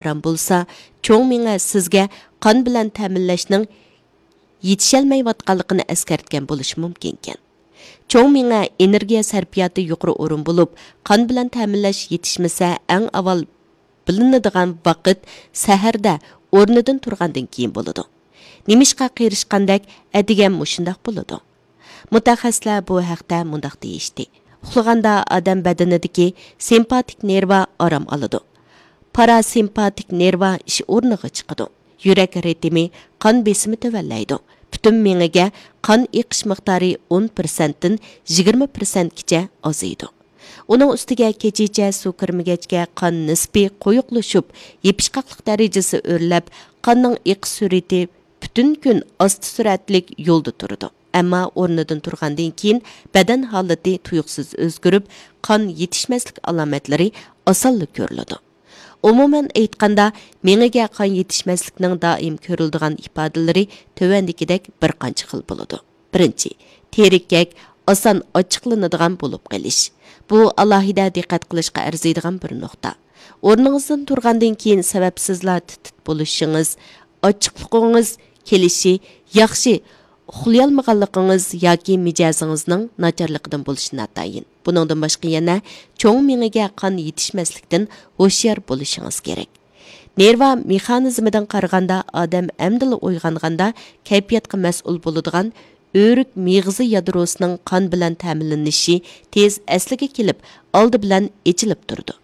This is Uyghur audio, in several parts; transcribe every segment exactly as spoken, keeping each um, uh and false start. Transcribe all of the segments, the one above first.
ئاران بولسا، چوڭ مېڭە سىزگە قان بىلەن تەمىنلەشنىڭ يېتىشەلمەيۋاتقانلىقىنى ئەسكەرتكەن بولۇشى مۇمكىنكەن. چوڭ مېڭە ئېنېرگىيە سەرپىياتى يۇقىرى ئورۇن بولۇپ، قان بىلەن تەمىنلەش يېتىشمىسە، ئەڭ ئاۋۋال بىلىنىدىغان ۋاقىت سەھەردە ئورنىدىن تۇرغاندىن كېيىن بولىدۇ. نېمىشقا قېرىشقاندەك ئەتىگەن مۇشۇنداق بولىدۇ؟ مۇتەخەسسىسلەر بۇ ھەقتە مۇنداق دېيىشتى: ئۇخلىغاندا ئادەم بەدىنىدىكى سىمپاتىك نېرۋا ئارام ئالىدۇ. پاراسىمپاتىك نېرۋا ئىش ئورنىغا چىقىدۇ. يۈرەك رىتىمى، قان بېسىمى تۆۋەنلەيدۇ. پۈتۈن مېڭىگە قان ئېقىش مىقدارى ئون پىرسەنتتىن يىگىرمە پىرسەنتكىچە ئازىيىدۇ. ئۇنىڭ ئۈستىگە كېچىچە سۇ كىرمىگەچكە قان نىسپى قويۇقلىشىپ، يېپىشقاقلىق دەرىجىسى ئۆرلەپ، قاننىڭ ئېقىش سۈرئىتى پۈتۈن كۈن ئاستا سۈرئەتلىك يولدا تۇرىدۇ. ئەمما ئورنىدىن تۇرغاندىن كېيىن بەدەن ھالىتى تۇيۇقسىز ئۆزگىرىپ، قان يېتىشمەسلىك ئالامەتلىرى ئاسانلا كۆرۈلىدۇ. ئومۇمەن ئېيتقاندا، مېڭىگە قان يېتىشمەسلىكنىڭ دائىم كۆرۈلىدىغان ئىپادىلىرى تۆۋەندىكىدەك بىر قانچە خىل بولىدۇ. بىرىنچى، تېرىككەك، ئاسان ئاچچىقلىنىدىغان بولۇپ قېلىش. بۇ ئالاھىدە دىققەت قىلىشقا ئەرزىيدىغان بىر نۇقتا. ئورنىڭىزدىن تۇرغاندىن كېيىن سەۋەبسىزلا تىت-تىت بولۇشىڭىز، ئاچچىقلىقىڭىز كېلىشى، ياخشى ئۇخلىيالمىغانلىقىڭىز ياكى مىجەزىڭىزنىڭ ناچارلىقىدىن بولۇشى ناتايىن. بۇنىڭدىن باشقا يەنە چوڭ مېڭىگە قان يېتىشمەسلىكتىن ھوشيار بولۇشىڭىز كېرەك. نېرۋا مېخانىزمىدىن قارىغاندا، ئادەم ئەمدىلا ئويغانغاندا كەيپىياتقا مەسئۇل بولىدىغان ئۆرۈك مېغىزى يادروسىنىڭ قان بىلەن تەمىنلىنىشى تېز ئەسلىگە كېلىپ، ئالدى بىلەن ئېچىلىپ تۇرىدۇ.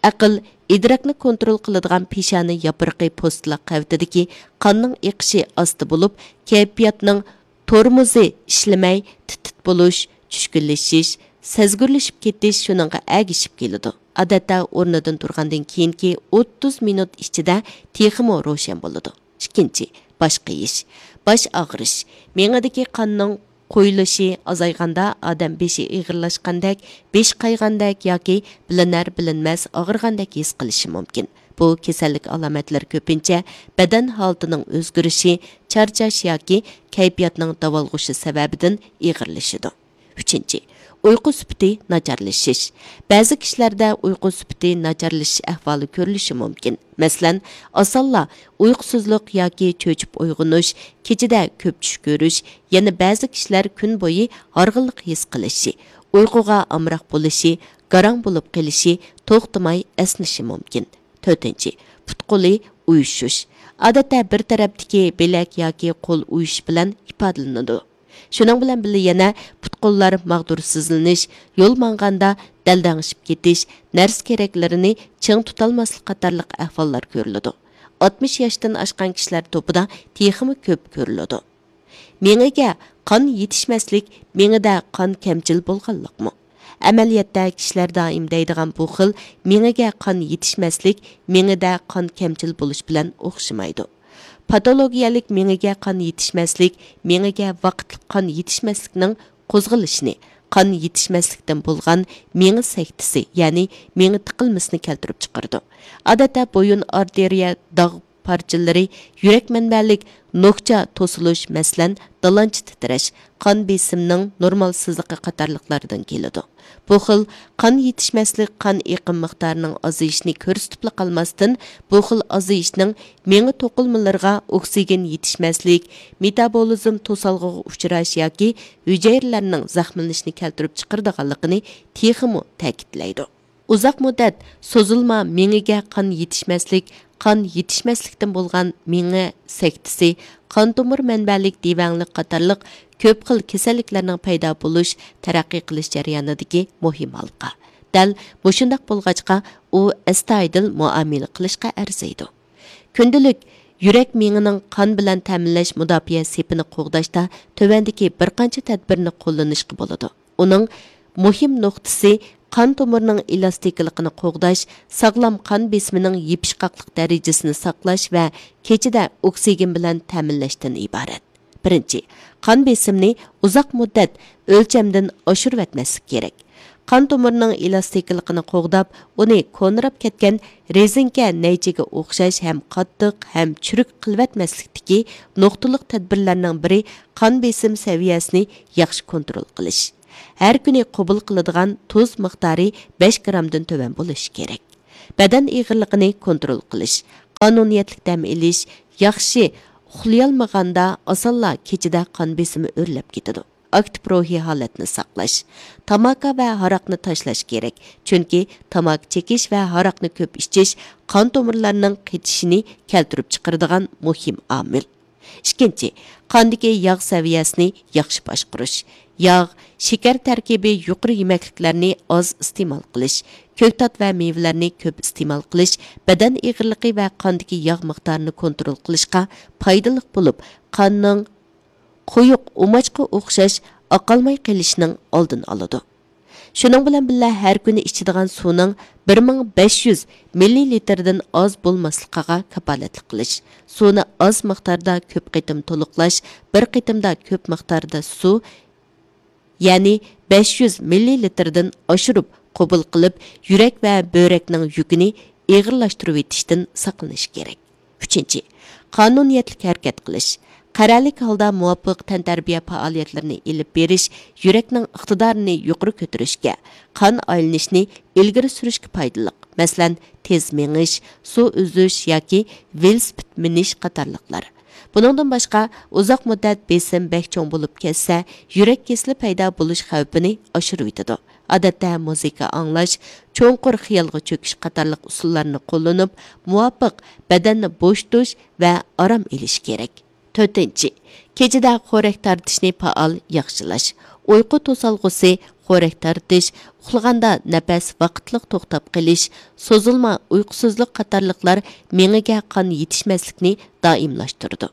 ئەقىل، ئىدراكنى كونترول قىلىدىغان پېشانە ياپرىقى پوستىلا قەۋىتىدىكى قاننىڭ ئېقىشى ئاستا بولۇپ، كەيپىياتنىڭ تورمۇزى ئىشلىمەي، تىت-تىت بولۇش، چۈشكۈنلىشىش، سەزگۈرلىشىپ كېتىش شۇنىڭغا ئەگىشىپ كېلىدۇ. ئادەتتە ئورنىدىن تۇرغاندىن كېيىنكى ئوتتۇز مىنۇت ئىچىدە تېخىمۇ روشەن بولىدۇ. ئىككىنچى، باش قېيىش، باش ئاغرىش. مېڭىدىكى قاننىڭ قويۇلۇشى ئازايغاندا ئادەم بېشى ئېغىرلاشقاندەك، بېشى قايغاندەك ياكى بىلىنەر-بىلىنمەس ئاغرىغاندەك ھېس قىلىشى مۇمكىن. بۇ كېسەللىك ئالامەتلىرى كۆپىنچە بەدەن ھالىتىنىڭ ئۆزگىرىشى، چارچاش ياكى كەيپىياتنىڭ داۋالغۇشى سەۋەبىدىن ئېغىرلىشىدۇ. ئۈچىنچى، ئۇيقۇ سۈپىتى ناچارلىشىش. بەزى كىشىلەردە ئۇيقۇ سۈپىتى ناچارلىشىش ئەھۋالى كۆرۈلۈشى مۇمكىن. مەسىلەن، ئاسانلا ئۇيقۇسىزلىق ياكى چۆچۈپ ئويغىنىش، كېچىدە كۆپ چۈش كۆرۈش، يەنە بەزى كىشىلەر كۈن بويى ھارغىنلىق ھېس قىلىشى، ئۇيقۇغا ئامراق بولۇشى، گاراڭ بولۇپ قېلىشى، توختىماي ئەسنىشى مۇمكىن. تۆتىنچى، پۇت-قولى ئۇيۇشۇش. ئادەتتە بىر تەرەپتىكى بىلەك ياكى قول ئۇيۇشۇش بىلەن ئىپادىلىنىدۇ. شۇنىڭ بىلەن بىللە يەنە پۇت-قوللار ماغدۇرسىزلىنىش، يول ماڭغاندا دەلدەڭشىپ كېتىش، نەرسە-كېرەكلىرىنى چىڭ تۇتالماسلىق قاتارلىق ئەھۋاللار كۆرۈلىدۇ. ئاتمىش ياشتىن ئاشقان كىشىلەر توپىدا تېخىمۇ كۆپ كۆرۈلىدۇ. مېڭىگە قان يېتىشمەسلىك مېڭىدە قان كەمچىل بولغانلىقمۇ؟ ئەمەلىيەتتە كىشىلەر دائىم دەيدىغان بۇ خىل مېڭىگە قان يېتىشمەسلىك مېڭىدە قان كەمچىل بولۇش بىلەن ئوخشىمايدۇ. پاتولوگىيەلىك مېڭىگە قان يېتىشمەسلىك مېڭىگە ۋاقىتلىق قان يېتىشمەسلىكنىڭ قوزغىلىشىنى، قان يېتىشمەسلىكتىن بولغان مېڭە سەكتىسى، يەنى مېڭە تىقىلمىسىنى كەلتۈرۈپ چىقىرىدۇ. ئادەتتە بويۇن ئارتېرىيە داغ پارچىلىرى، يۈرەك مەنبەلىك نوكچا توسۇلۇش، مەسىلەن، دالانچا تىترەش، قان بېسىمنىڭ نورمالسىزلىقى قاتارلىقلاردىن كېلىدۇ. بۇ خىل قان يېتىشمەسلىك قان ئېقىم مىقدارىنىڭ ئازىيىشىنى كۆرسىتىپلا قالماستىن، بۇ خىل ئازىيىشنىڭ مېڭە توقۇلمىلىرىغا ئوكسىگېن يېتىشمەسلىك، مېتابولىزم توسالغۇغا ئۇچراش ياكى ھۈجەيرىلەرنىڭ زەخىملىنىشىنى كەلتۈرۈپ چىقىرىدىغانلىقىنى تېخىمۇ تەكىتلەيدۇ. ئۇزاق مۇددەت سوزۇلما مېڭىگە قان يېتىشمەسلىك، قان يېتىشمەسلىكتىن بولغان مېڭە سەكتىسى، قان تومۇر مەنبەلىك دېۋەڭلىك قاتارلىق كۆپ خىل كېسەللىكلەرنىڭ پەيدا بولۇش، تەرەققىي قىلىش جەريانىدىكى مۇھىم ھالقا. دەل مۇشۇنداق بولغاچقا، ئۇ ئەستايىدىل مۇئامىلە قىلىشقا ئەرزىيدۇ. كۈندىلىك يۈرەك مېڭىنىڭ قان بىلەن تەمىنلەش مۇداپىئە سېپىنى قوغداشتا تۆۋەندىكى بىر قانچە تەدبىرنى قوللىنىشقا بولىدۇ. ئۇنىڭ مۇھىم نۇقتىسى قان تومۇرىنىڭ ئېلاستىكىلىقىنى قوغداش، ساغلام قان بېسىمىنىڭ يېپىشقاقلىق دەرىجىسىنى ساقلاش ۋە كېچىدە ئوكسىگېن بىلەن تەمىنلەشتىن ئىبارەت. بىرىنچى، قان بېسىمنى ئۇزاق مۇددەت ئۆلچەمدىن ئاشۇرۇۋەتمەسلىك كېرەك. قان تومۇرىنىڭ ئېلاستىكىلىقىنى قوغداپ، ئۇنى كونىراپ كەتكەن رېزىنكە نەيچىگە ئوخشاش ھەم قاتتىق، ھەم چۈرۈك قىلىۋەتمەسلىكتىكى نۇقتىلىق تەدبىرلەرنىڭ بىرى قان بېسىم سەۋىيەسىنى ياخشى كونترول قىلىش. ھەر كۈنى قوبۇل قىلىدىغان تۇز مىقدارى بەش گرامدىن تۆۋەن بولۇشى كېرەك. بەدەن ئېغىرلىقىنى كونترول قىلىش، قانۇنىيەتلىك دەم ئېلىش، ياخشى ئۇخلىيالمىغاندا ئاسانلا كېچىدە قان بېسىمى ئۆرلەپ كېتىدۇ. ئاكتىپ روھىي ھالەتنى ساقلاش، تاماكا ۋە ھاراقنى تاشلاش كېرەك، چۈنكى تاماكا چېكىش ۋە ھاراقنى كۆپ ئىچىش قان تومۇرلارنىڭ قېتىشىنى كەلتۈرۈپ چىقىرىدىغان مۇھىم ئامىل. ئىككىنچى، قاندىكى ياغ سەۋىيەسىنى ياخشى باشقۇرۇش. ياغ، شېكەر تەركىبى يۇقىرى يېمەكلىكلەرنى ئاز ئىستېمال قىلىش، كۆكتات ۋە مېۋىلەرنى كۆپ ئىستېمال قىلىش بەدەن ئېغىرلىقى ۋە قاندىكى ياغ مىقدارىنى كونترول قىلىشقا پايدىلىق بولۇپ، قاننىڭ قويۇق ئۇماچقا ئوخشاش ئاقالماي قېلىشنىڭ ئالدىنى ئالىدۇ. شۇنىڭ بىلەن بىللە، ھەر كۈنى ئىچىدىغان سۇنىڭ بىر مىڭ بەش يۈز مىللىلىتىردىن ئاز بولماسلىقىغا كاپالەتلىك قىلىش، سۇنى ئاز مىقداردا كۆپ قېتىم تولۇقلاش، بىر قېتىمدا كۆپ مىقداردا سۇ، يەنى بەش يۈز مىللىلىتىردىن ئاشۇرۇپ قوبۇل قىلىپ، يۈرەك ۋە بۆرەكنىڭ يۈكىنى ئېغىرلاشتۇرۇۋېتىشتىن ساقلىنىش كېرەك. ئۈچىنچى، قانۇنىيەتلىك ھەرىكەت قىلىش. قەرەللىك ھالدا مۇۋاپىق تەنتەربىيە پائالىيەتلىرىنى ئېلىپ بېرىش يۈرەكنىڭ ئىقتىدارىنى يۇقىرى كۆتۈرۈشكە، قان ئايلىنىشنى ئىلگىرى سۈرۈشكە پايدىلىق. مەسىلەن، تېز مېڭىش، سۇ ئۈزۈش ياكى ۋېلىسىپىت مىنىش قاتارلىقلار. بۇنىڭدىن باشقا، ئۇزاق مۇددەت بېسىم بەك چوڭ بولۇپ كەتسە، يۈرەك كېسىلى پەيدا بولۇش خەۋپىنى ئاشۇرۇۋېتىدۇ. ئادەتتە مۇزىكا ئاڭلاش، چوڭقۇر خىيالغا چۆكۈش قاتارلىق ئۇسۇللارنى قوللىنىپ، مۇۋاپىق بەدەننى بوشىتىش ۋە ئارام ئېلىش كېرەك. تۆتىنچى، كېچىدە خورەك تارتىشنى پائال ياخشىلاش. ئۇيقۇ توسالغۇسى، خورەك تارتىش، ئۇخلىغاندا نەپەس ۋاقىتلىق توختاپ قېلىش، سوزۇلما ئۇيقۇسىزلىق قاتارلىقلار مېڭىگە قان يېتىشمەسلىكنى دائىملاشتۇرىدۇ.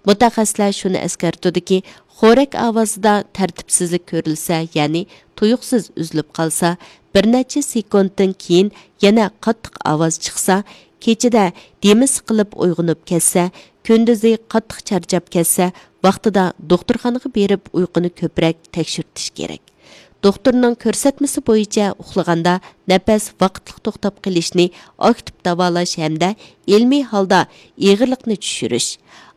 مۇتەخەسسىسلەر شۇنى ئەسكەرتىدۇكى، خورەك ئاۋازىدا تەرتىپسىزلىك كۆرۈلسە، يەنى تۇيۇقسىز ئۈزۈلۈپ قالسا، بىر نەچچە سېكۇنتتىن كېيىن يەنە قاتتىق ئاۋاز چىقسا، كېچىدە دېمى سىقىلىپ ئويغىنىپ كەتسە، كۈندۈزى قاتتىق چارچاپ كەتسە، ۋاقتىدا دوختۇرخانىغا بېرىپ ئۇيقۇنى كۆپرەك تەكشۈرتۈش كېرەك. دوختۇرنىڭ كۆرسەتمىسى بويىچە ئۇخلىغاندا نەپەس ۋاقىتلىق توختاپ قېلىشنى ئاكتىپ داۋالاش ھەمدە ئىلمىي ھالدا ئېغىرلىقنى چۈشۈرۈش،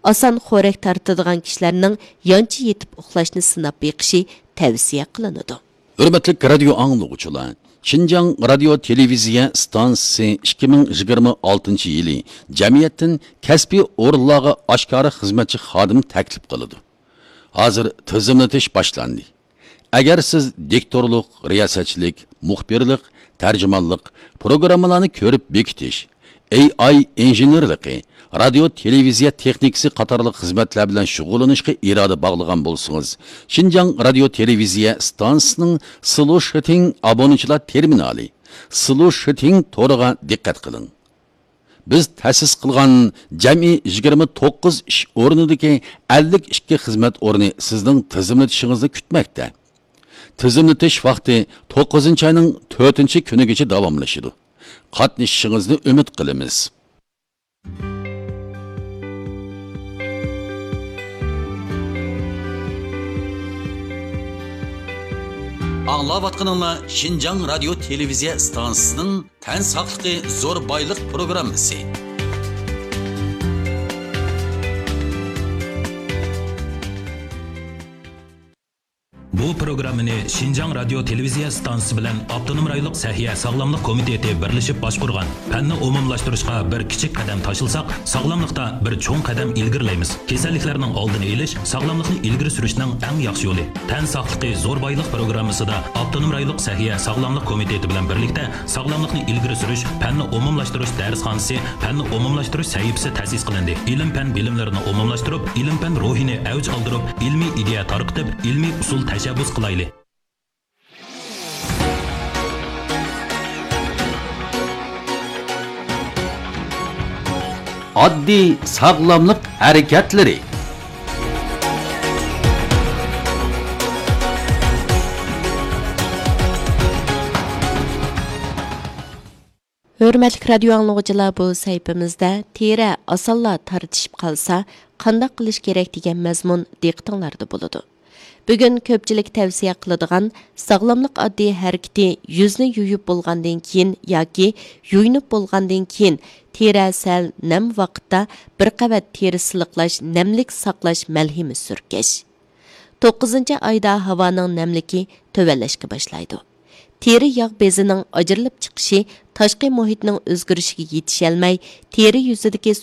ئاسان خورەك تارتىدىغان كىشىلەرنىڭ يانچە يېتىپ ئۇخلاشنى سىناپ بېقىشى تەۋسىيە قىلىنىدۇ. ھۆرمەتلىك رادىيو ئاڭلىغۇچىلار، شىنجاڭ رادىيو تېلېۋىزىيە ئىستانسىسى ئىككى مىڭ يىگىرمە ئالتىنچى يىلى جەمئىيەتتىن كەسپىي ئورۇنلارغا ئاشكارا خىزمەتچى خادىم تەكلىپ قىلىدۇ. ھازىر تىزىملىتىش باشلاندى. ئەگەر سىز دىكتورلۇق، رىياسەتچىلىك، مۇخبىرلىق، تەرجىمانلىق، پروگراممىلارنى كۆرۈپ بېكىتىش، ئېي ئاي ئىنژېنېرلىقى، رادىيو تېلېۋىزىيە تېخنىكىسى قاتارلىق خىزمەتلەر بىلەن شۇغۇللىنىشقا ئىرادە باغلىغان بولسىڭىز، شىنجاڭ رادىيو تېلېۋىزىيە ئىستانسىسىنىڭ سلۇشىتىڭ ئابۇنىچىلار تېرمىنالى، سلۇشىتىڭ تورىغا دىققەت قىلىڭ. بىز تەسىس قىلغان جەمئىي يىگىرمە توققۇز ئىش ئورنىدىكى ئەللىك ئىككى خىزمەت ئورنى سىزنىڭ تىزىملىتىشىڭىزنى كۈتمەكتە. تىزىملىتىش ۋاقتى توققۇزىنچى ئاينىڭ تۆتىنچى كۈنىگىچە داۋاملىشىدۇ. قاتنىشىشىڭىزنى ئۈمىد قىلىمىز. ئاڭلاۋاتقىنىڭلار شىنجاڭ رادىيو تېلېۋىزىيە ئىستانسىسىنىڭ تەن ساقلىقى زور بايلىق پروگراممىسى. بۇ پروگراممىنى شىنجاڭ رادىيو تېلېۋىزىيە ئىستانسىسى بىلەن ئاپتونوم رايونلۇق سەھىيە ساغلاملىق كومىتېتى بىرلىشىپ باشقۇرغان پەننى ئومۇملاشتۇرۇشقا بىر كىچىك قەدەم تاشلىساق، ساغلاملىقتا بىر چوڭ قەدەم ئىلگىرىلەيمىز. كېسەللىكلەرنىڭ ئالدىنى ئېلىش، ساغلاملىقنى ئىلگىرى سۈرۈشنىڭ ئەڭ ياخشى يولى. تەن ساقلىقى زور بايلىق پروگراممىسىدا ئاپتونوم رايونلۇق سەھىيە ساغلاملىق كومىتېتى بىلەن بىرلىكتە ساغلاملىقنى ئىلگىرى سۈرۈش، پەننى ئومۇملاشتۇرۇش دەرسخانىسى، پەننى ئومۇملاشتۇرۇش سەھىپىسى تەسىس قىلىندى. ئىلىم-پەن بىلىملىرىنى ئومۇملاشتۇرۇپ، ئىلىم-پەن روھىنى ئەۋج ئالدۇرۇپ، ئىلمىي ئىدىيە تارقىتىپ، ئىلمىي ئۇسۇل تەشەببۇس قىلايلى. ئاددىي ساغلاملىق ھەرىكەتلىرى. ھۆرمەتلىك رادىيو ئاڭلىغۇچىلار، بۇ سەھىپىمىزدە تېرە ئاسانلا تارتىشىپ قالسا، قانداق قىلىش كېرەك دېگەن مەزمۇن دىققىتىڭلاردا بولىدۇ. بۈگۈن كۆپچىلىك تەۋسىيە قىلىدىغان ساغلاملىق ئاددىي ھەرىكىتى يۈزنى يۇيۇپ بولغاندىن كېيىن ياكى يۇيۇنۇپ بولغاندىن كېيىن تېرە سەل نەم ۋاقىتتا بىر قەۋەت تېرە سىلىقلاش، نەملىك ساقلاش مەلھىمى سۈركەش. توققۇزىنچى ئايدا ھاۋانىڭ نەملىكى تۆۋەنلەشكە باشلايدۇ. تېرە ياغ بېزىنىڭ ئاجرىلىپ چىقىشى تاشقى مۇھىتنىڭ ئۆزگىرىشىگە يېتىشەلمەي، تېرە يۈزىدىكى